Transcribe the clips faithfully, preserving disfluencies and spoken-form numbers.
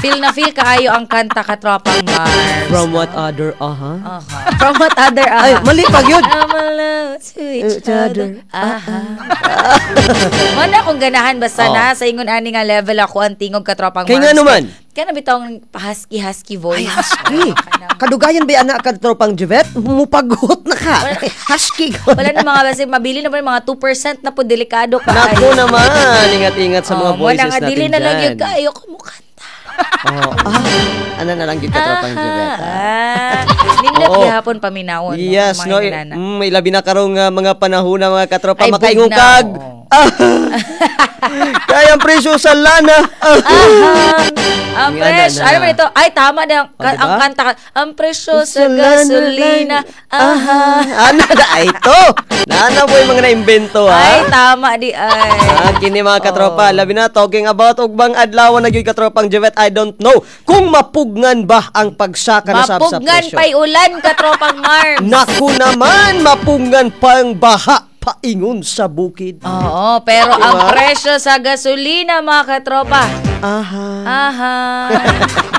Feel na feel kaayo ang kanta, katropang Mars. From what other, aha. Aha. From what other, aha. Ay, mali pa yun. I'm alone to each Each other. other. Aha. Mo na akong ganahan basta Oh. na sa ingon ani nga level ako ang tingog, katropang Kay Mars. nga naman? Kaya na bitaw ang pa-husky-husky voice. Ay, husky. Oo, kanang- Kadugayan ba anak, katropang Juvet? Mupagot na ka. Husky ko. Wala na mga basi mabili na ba yung mga two percent na po, delikado ka. Naku naman, ingat-ingat sa mga Oh, mo na voices nga, natin dili na lang dyan. yung kaayo ko mukanta. Oh, ah, ano na lang gyud, katropang Juvet. Ah. Ah, nindot Oo. gihapon paminawon. Yes, no, no. mga inana. Mm, may labi na karong uh, mga panahon na, mga katropa, Ay, makaingon bugnaw. kag. Ah, kaya ang presyo sa lana. Ah. Aha. Ang Nga presyo, na. ano ba ito? Ay, tama na. Ang, Oh, diba? Ang kanta. Ang presyo sa Sa lana. Gasolina. Aha. Ano na ito? Nana po yung mga naimbento ha. Ay, tama di ay. Ah, kini mga katropa, Oh. labi na talking about ugbang adlaw na gyud, katropang Juvet, I don't know kung mapugngan ba ang pagsaka na sab sa Mapugnan presyo. pa'y ulan, katropang Mars. Naku naman, mapugnan pang baha paingon sa bukid. Oo, pero ang Diba? Presyo sa gasolina, mga katropa. Aha. Aha.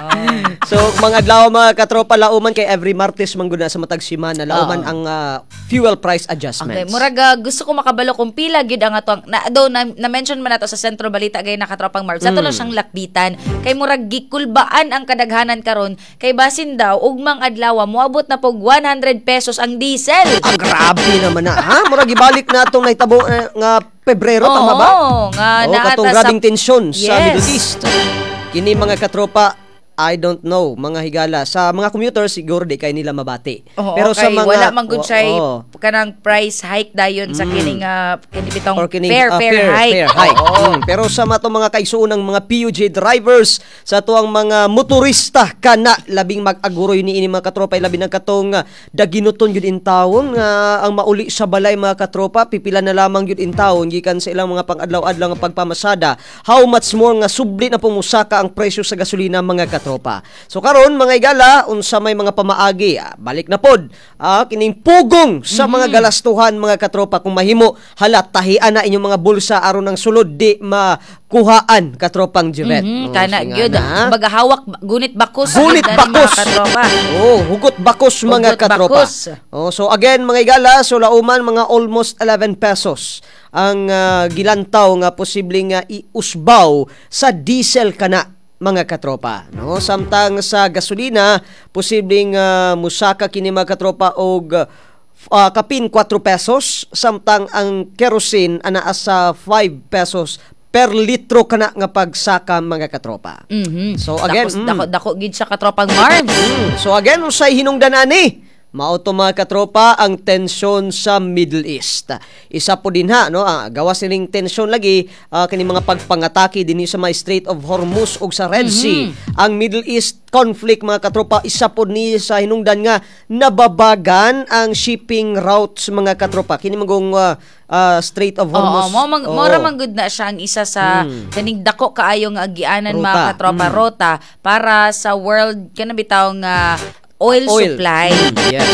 Oh. So, mga adlaw, mga katropa, lauman kay every Martes man gud na sa matag semana, lauman Oo. ang ah, fuel price adjustments. Okay, murag ah, gusto ko makabalo kung pila gyud ang ato ang na do na, na-mention man nato sa Sentro Balita gay na, katropang Marv. Sa ato Mm. lang siyang lakbitan kay murag gikulbaan ang kadaghanan karon kay basin daw ugmang adlaw moabot na pog one hundred pesos ang diesel. Ah, grabe naman na. Ha? Murag ibalik na atong nahitabo eh, nga Pebrero, tama ba? Oo, nga Oo, naata katong sa- grabing tensyon sa Yes. Middle East. Kini, mga katropa, I don't know, mga higala. Sa mga commuters, siguro di kay nila mabati. Oo, Pero sa kay mga wala man gud siya Oo. kanang price hike dayon sa kining uh, kini bitong Or kining, fair ah, fair, hike. Fair hike. Oo. Mm, Pero sa mga mga kaigsuonang mga P U J drivers, sa tuang mga motorista kana labing mag-aguroy ni ini, mga katropa, labi na katong ah, daginuton gyud in tawon nga ang mauli sa balay, mga katropa, pipila na lamang gyud in tawon gikan sa ilang mga pang-adlaw-adlaw nga pagpamasada. How much more nga subli na pumusaka ang presyo sa gasolina, mga katropa. So karon, mga igala, unsa may mga pamaagi? Ah, balik na pod ah, kining pugong sa mga galastuhan, mga katropa. Kung mahimo hala tahian na inyong mga bulsa aron ang sulod di makuhaan, katropang Juvet. Mhm, Oh, kana sige gyud. na. Kumbaga hawak gunit bakos Gunit gyud ani, bakos. mga katropa. Oh, hugot bakos, mga Hugot katropa. bakos. Oh, so again, mga igala, so lauman mga almost eleven pesos ang ah, gilantaw nga posibleng nga iusbaw sa diesel kana, mga katropa, no? Samtang sa gasolina, posibleng ah, musaka kini, mga katropa, og ah, kapin four pesos, samtang ang kerosene anaa sa five pesos per litro kana nga pagsaka, mga katropa. Mhm. So again, Dako, mm. dako, dako gid siya, katropang Marvs. Mm. So again, unsay hinungdan ani? Mao to, mga katropa, ang tensyon sa Middle East. Isa po din ha, no, ah, gawas sining tensyon lagi ah, kini mga pagpangatake dinhi sa may Strait of Hormuz ug sa Red Sea. Ang Middle East conflict, mga katropa, isa po ni sa hinungdan nga nababagan ang shipping routes, mga katropa. Kini magong ah, ah, Strait of Oo, Hormuz. mo mang Oo. mo ra man gud na siya ang isa sa kaning dako kaayo nga agianan, mga Ruta. katropa, rota para sa world kana bitaw nga oil, Oil. supply. Mm, yes.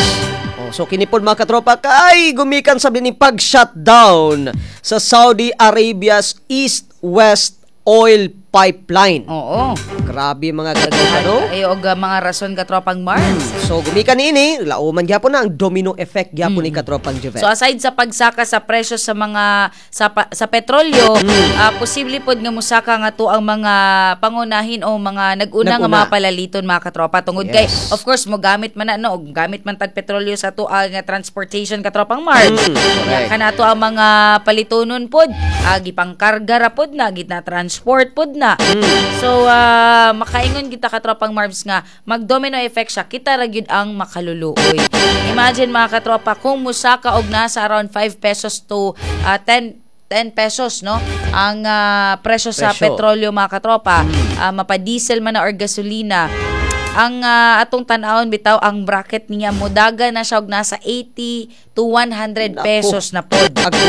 Oh, so kini pod, mga katropa, kay gumikan sa ni pag-shutdown sa Saudi Arabia's East-West oil pipeline. Oo. Grabe, mga katropa, no? Ay og uh, mga rason, katropang Mars. So gumikan niini, lauman gyapon na ang domino effect gyapon ni katropang Juvet. So aside sa pagsaka sa presyo sa mga sa pa- sa petrolyo, Mm. ah, posible pod nga musaka nga to ang mga pangunahin o mga nag-una nga Nag-una. mga palaliton, mga katropa, tungod kay Yes. of course mo gamit man na, no, og gamit man tag petrolyo sa to ang nga transportation, katropang Mars. Mm, correct. Kana to ang mga palitonon pod, ah, gipangkarga ra pod na, gitna transport pod na. Mm. So ah, makaingon kita, katropang Marbs, nga mag domino effect siya, kita ra gyud ang makaluluoy. Imagine, mga katropa, kung musaka og nasa around five pesos to ah, ten ten pesos, no, ang ah, presyo sa Presyo. petrolyo, mga katropa, ah, mapa-diesel man na or gasolina, ang ah, atong tan-awon bitaw ang bracket niya mudaga na siya og nasa eighty to one hundred Naku. pesos na pod. Ag